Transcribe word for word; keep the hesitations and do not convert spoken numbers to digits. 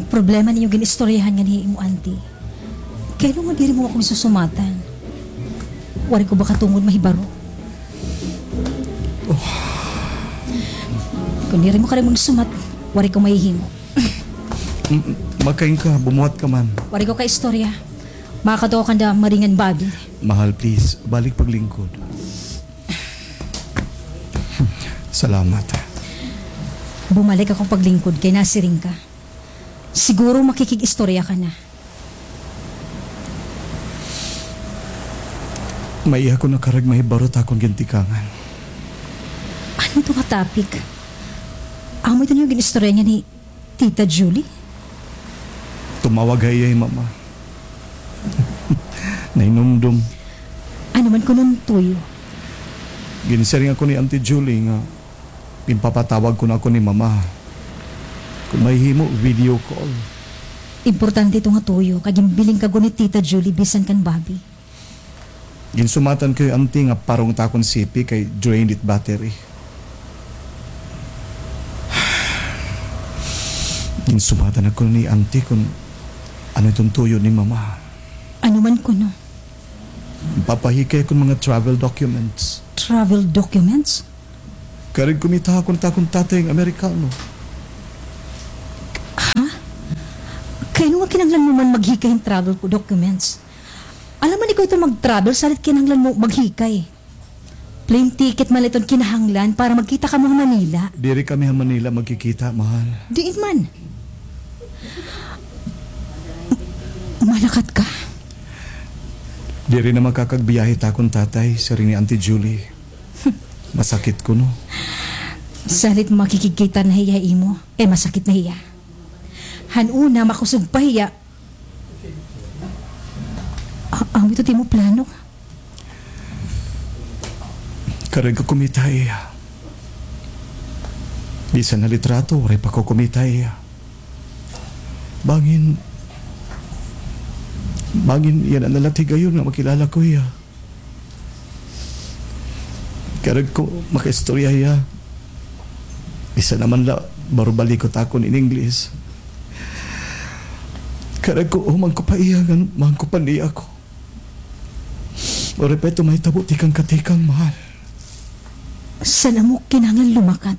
Problema niyo gin-istoryahan ngan hi imo auntie. Kay ano nga diri mo ako gisusumatan? Waray ko ba katungod mahibaro? Oh. Kon diri mo kari magsumat, waray ko mahihimo. Mm, makain ka, bumuhat ka man. Waray ko kaistorya. Makakadto ako kanda Marie ngan Bobby. Mahal, please, balik paglingkod. Salamat. Bumalik ako paglingkod kay nasiring ka. Siguro makikig-istorya ka na. May iya ko na karag mahibaro ta akon gintikangan. Ano ito nga topic? Amo ito niyo gin-istorya niya ni Tita Julie? Tumawag ha iya hi Mama. Nahinumdom. Ano man kuno an tuyo? Ginsiring ako ni Auntie Julie nga ginpapatawag kuno ako ni Mama. Kon mahihimo, video call. Importante ito nga tuyo, kay ginbiling ka gud ni Tita Julie bisan kan Bobby. Ginsumatan ko hi Auntie nga parong ta akon sipi kay drained it battery. Ginsumatan ako ni Auntie kon ano iton tuyo ni Mama. Ano man kuno? Papahikay akon mga travel documents. Travel documents? Karag kumita akon ta akon tatay nga Amerikano. Ha? Kay ano nga kinahanglan mo man maghikay hin travel ko documents? Alangan man ikaw ito mag-travel, salit kinahanglan mo maghikay. Plane ticket man la iton kinahanglan para magkita kamo ha Manila. Diri kami ha Manila magkikita, mahal. Diin man? Malakat ka? Diri na makakagbiyahe ta akon tatay, siring ni Auntie Julie. Masakit kuno. Salit makikigkita na hiya ha imo, eh, masakit na hiya. Han una, makusog pa hiya. A-, amo ito it imo plano? Karag ko kumita ha iya. Bisan na litrato, waray pa ko kumita ha iya. Bangin, bangin yana na la it higayon nga makilala ko hiya. Karag ko makaistorya hiya. Bisan na man la, baro balikot akon in English. Karag ko, human ko pa iya, ngan mahangkopan niya ako. Waray pa ito mahitabo tikang katikang, mahal. San-o mo kinahanglan lumakat?